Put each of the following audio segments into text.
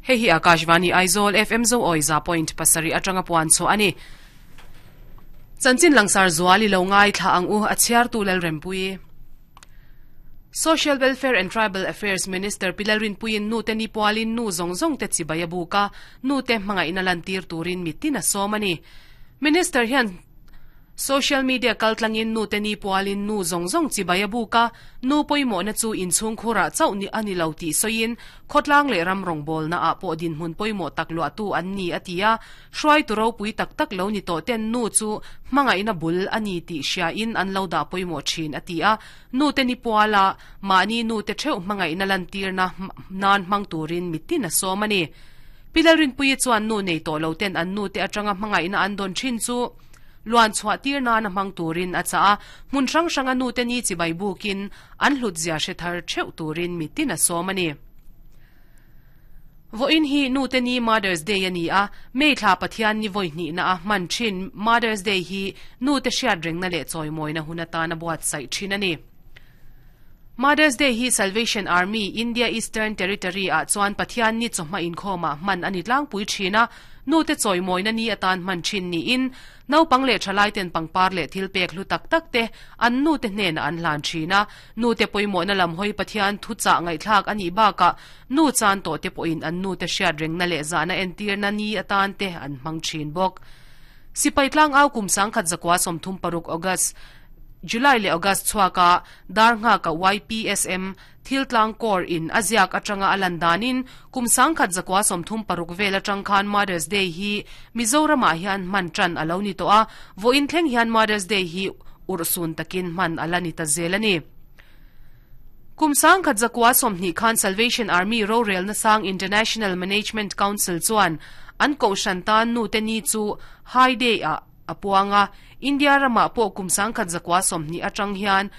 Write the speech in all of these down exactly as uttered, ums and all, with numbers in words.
Hei hi Akashvani Aizawl F M zo oi za point pasarih atanga puan chu ani. Chanchin langsar zuali lo ngai thla ang u, a chhiar tu Lal Rempui. Social Welfare and Tribal Affairs Minister Pi Lalrinpuiin nu te ni pualin nu zawng zawng te chibai a buk a, nu te hmangaihna lantir turin mitin a sawm a ni. Minister hian social media kaltlangin nu te ni pualin nu zawng zawng chibai a buk a, nu pawimawhna chu inchhung khurah chauh ni a ni lo tih sawiin khawtlang leh ram rawngbawlna ah pawh dinhmun pawimawh tak luahtu an ni a ti a, hruaitu ropui tak tak lo ni tawh ten nu chu hmangaihna bul a ni tih hriain an lo dah pawimawh thin a ti a, nu te ni puala mahni nu te theuh hmangaihna lantirna nan hmang turin mitin a sawm a ni. Pi Lalrinpuii chuan nu nei tawh lo ten an nu te atanga hmangaihna an dawn thin chu luan chhuah tir nana hmang turin a chah a, hmun hrang hranga nu te ni chibai bukin an hlut zia hre thar theuh turin mitin a sawm a ni. Vawiin hi nu te ni, Mother's Day a ni a, May thla Pathian ni vawi hnihna a hman thin Mother's Day hi nu te hriat rengna leh chawimawina hun atana buatsaih thin a ni. Mother's Day hi Salvation Army India Eastern Territory ah chuan Pathian ni chawhma inkhawmah hman a ni tlangpui thin a, nu te chawimawina ni atan hman thin niin naupang leh thalai ten pangpar leh thil pek hlu tak tak te an nu te hnenah an hlan thin a, nu te pawimawhna lam hawi Pathian thu chah ngaihthlak a nih bakah nu chan tawh te pawhin an nu te hriat rengna leh zahna entirna ni atan te an hmang thin bawk. Sipai tlang au kum sangkhat zakua sawmthum paruk August, July leh August chhuaka dar nga ka Y P S M thil tlang kor in aziak atanga alan danin kum sangkhat zakua sawmthum paruk vel atang khan Mother's Day hi Mizoram ah hian hman tan alo ni to a, vawiin thleng hian Mother's Day hi urhsun takin hman ala ni ta zel ani. Kum sangkhat zakua sawmhnih khan Salvation Army rorel na sang International Management Council chuan an ko shantan nu te ni chu High Day a apuanga. India rama pawh kum sangkhat zakua sawmhnih atang hian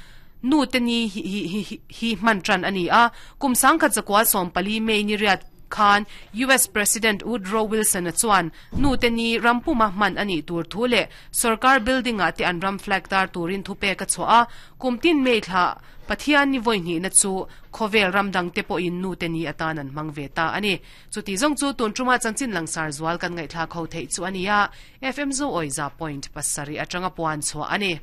nu te ni hi hi hi hi hman tan ani a, kum sangkhat zakua sawm pali May ni riat khan U S President Woodrow Wilson a chuan nu te ni rampuma hman ani tur thu le sarkar building a te an ram flag tar turin thu pe ka chhoa. Kumtin May thla Pathian ni voi ni na chu khovel ramdang te po in nu te ni atan an mang ve ta ani. Chuti zong chu tun tuma chanchin langsar zual kan ngai thla kho thei chu ania. F M zo oiza point pasarih atanga puan chu ani.